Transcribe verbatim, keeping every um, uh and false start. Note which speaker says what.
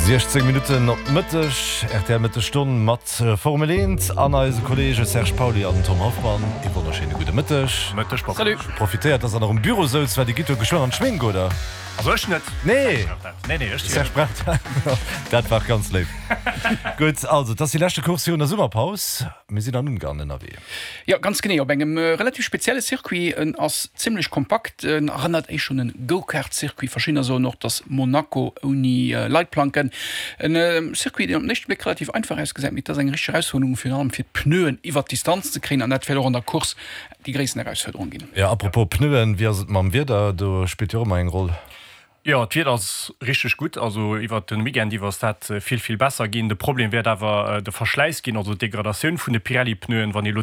Speaker 1: Siechzéng Minutten op Mëtteg, R T L Mëttesstonn mat Formel eent an eise Kolleege Serge Pauly an Tom Hoffmann. Ee wonnerschéine gudde Mëtteg.
Speaker 2: Mëtteg, Papa.
Speaker 3: Salut.
Speaker 1: Profitéiert, dass Der nach um Büro souz, well Dir gitt jo geschwënn an d'Schmink, oder?
Speaker 2: Also ech net.
Speaker 1: Nee.
Speaker 2: Nee, nee, ech
Speaker 1: Serge braucht dat war ganz léif. Gutt, also, et ass déi leschte Course virun der Summerpaus. Mir sinn an Ungarn ënnerwee.
Speaker 3: Jo, ganz genee, op engem relativ spezielle Circuit. En ass zimmlech kompakt, en erënnert éischter un en Go-Kart-Circuit. Verschiddener soen och, dass Monaco ouni Leitplanken. En Circuit, deen op den éischte Bléck relativ einfach ausgesäit, mee et ass eng richteg Erausfuerderung, virun allem fir d'Pneuen iwwert d'Distanz ze kréien, an dat wäert och an der Course déi gréissten Erausfuerderung ginn.
Speaker 1: Jo, apropos Pneuen, wéi ass et mam Wieder? Do spillt jo och ëmmer eng Roll.
Speaker 2: Jo, d'Wieder ass richteg gutt. Also iwwert de Weekend iwwer ass dat vill, vill besser ginn. De Problem wäert awer de Verschläiss ginn, also d'Degradatioun vun de Pirelli-Pneuen, wann ee lo